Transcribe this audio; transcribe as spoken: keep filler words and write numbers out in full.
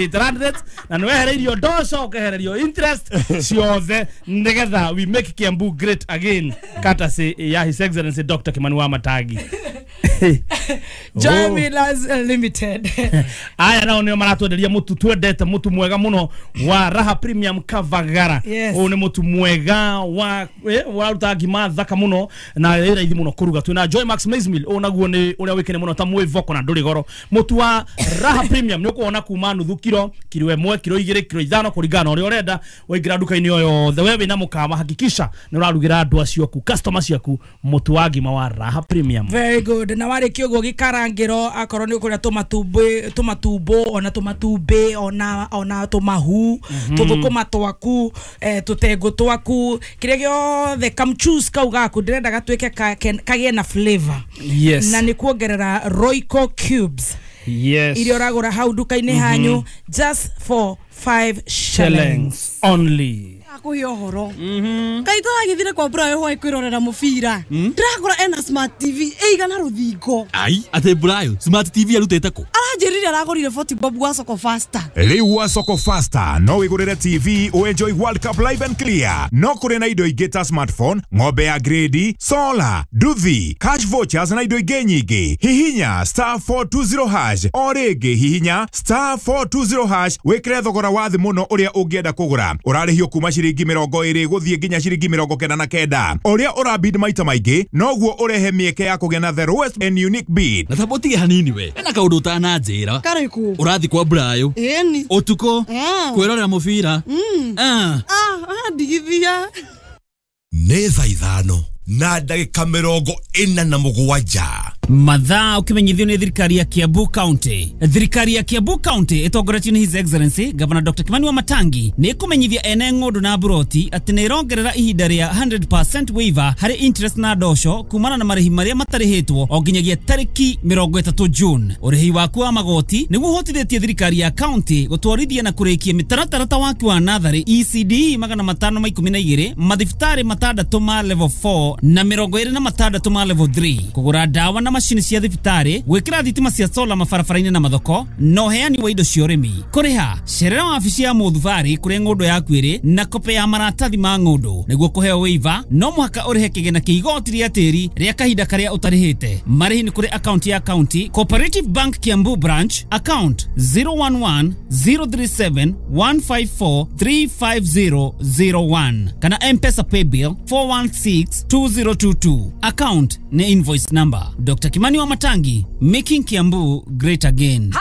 Eight hundred na nĩ wehereirio ndoco, ũkehererio interest ciothe, nĩgetha we make Kiambu great again, courtesy ya His Excellency Doctor Kimani wa Matangi. Joy Oh. Millers Limited. Aya nao nĩo maratwenderia mũtu twendete, mũtu mwega mũno wa Raha Premium Kavagara. Yes. Ũyũ nĩ mũtu mwega wa eh, ũraruta ngima thaka mũno na ĩ raithi mũno kũruga. Twĩna Joy Max Maize Meal, ũyũ naguo nĩ ũrĩa wĩkene mũno ta mwĩvoko na ndũrĩ goro. Mũtu wa Raha Premium nĩ ũkuona kuma nuthu kiro, kiro ĩmwe, kiro igĩrĩ, kiro ithano, kũringana na ũrĩa ũrenda. Waingĩra nduka-inĩ o yothe we wĩna mũkawa, hakikisha nĩ ũrarugĩra andũ acio aku, customer ciaku, mũtu wa ngima wa Raha Premium. Very good. Na warĩkia ũguo gĩkarangĩro, akorwo nĩ ũkũrĩa tũmatumbĩ, tũmatumbo, ona tũmatumbĩ, ona ona tũmahu, tũthũkũma twaku, eh, tũtengũ twaku, kĩrĩa gĩothe kamchus kau gaku ndĩrenda gatuĩke ka- ken- kagĩe na flavor. Yes. Na nĩ kuongerera Royco cubes yes iria ũragũra hau nduka-inĩ hanyu just for five shillings. Shillings only. Akuhe ũhoro kaĩ tũragĩthire kwa Brayo hwaĩ kwĩrorera mũbira, ndĩrakora ena smart T V ĩigana rũthingo. Ai, atĩ Brayo smart T V arutĩte kũ? Aranjĩrire aragũrire forty bob gwa Soko Fasta. Rĩu wa Soko Fasta no wĩgũrĩre T V ũenjoy World Cup live and clear. No kũrĩ na indo ingĩ ta smartphone, ng'ombe ya grade, solar, nduthi, cash vouchers na indo ingĩ nyingĩ. Hihinya star four two zero hash o rĩngĩ, hihinya star four two zero hash wĩkĩre thogora wa thĩ mũno ũrĩa ũngĩenda kũgũra. Ũrarĩhio kuma ciringi mĩrongo ĩrĩ gũthiĩ nginya ciringi mĩrongo kenda na kenda. Ũrĩa ũrabid maita maingĩ noguo ũrehe mĩeke ya kũgĩa na the lowest and unique bid. Na tamũtige hanini, we ena kaũndũ ũtananjĩra. Karĩkũ? Ũrathi kwa Brayo Ĩni. Ũtukũ Ah. kwĩrorera mũbira? Ah. Ah, ndigithia. Nĩ thaa ithano na ndagĩka mĩrongo ĩna na mũgwanja. Mathaa ukimenyithio nĩ thirikari ya Kiambu County. Thirikari ya Kiambu County ĩtongoretio nĩ His Excellency Governor Doctor Kimani wa Matangi nĩ ĩkũmenyithia ene ng'ũndũ na mburoti atĩ nĩ ĩrongerera ihinda rĩa one hundred percent waiver harĩ interest na ndosho kumana na marĩhi marĩa matarĩhĩtwo o nginyagia tarĩki mĩrongo ĩtatũ June. Ũrĩhi waku wa magoti nĩguo ũhotithĩtie thirikari ya county gũtwarithia na kũrĩkia mĩtaratara ta waki wa natharĩ E C D magana matano ma ikũmi na igĩrĩ, mathibitarĩ matandatũ ma level four na mĩrongo ĩrĩ na matandatũ ma level three, kũgũra ndawa na macini cia thibitarĩ, gwĩkĩra thitima cia sola mabarabara-inĩ na mathoko, na ũheani wa indo cia ũrĩmi. Kũrĩha, cerera wabici ya mũthubarĩ kũrĩa ng'ũndũ yaku ĩrĩ na kope ya maratathi ma ng'ũndũ. Nĩguo kũheo waiver no mũhaka ũrĩhe kĩgĩna kĩa igoti rĩa tĩri rĩa kahinda karĩa ũtarĩhĩte. Marĩhi nĩ kũrĩ akaunti ya county Cooperative Bank, Kiambu branch, account zero one one zero three seven one five four three five zero zero one, kana M-Pesa paybill four one six two zero two two, account ni invoice number. Doctor Kimani wa Matangi, making Kiambu great again.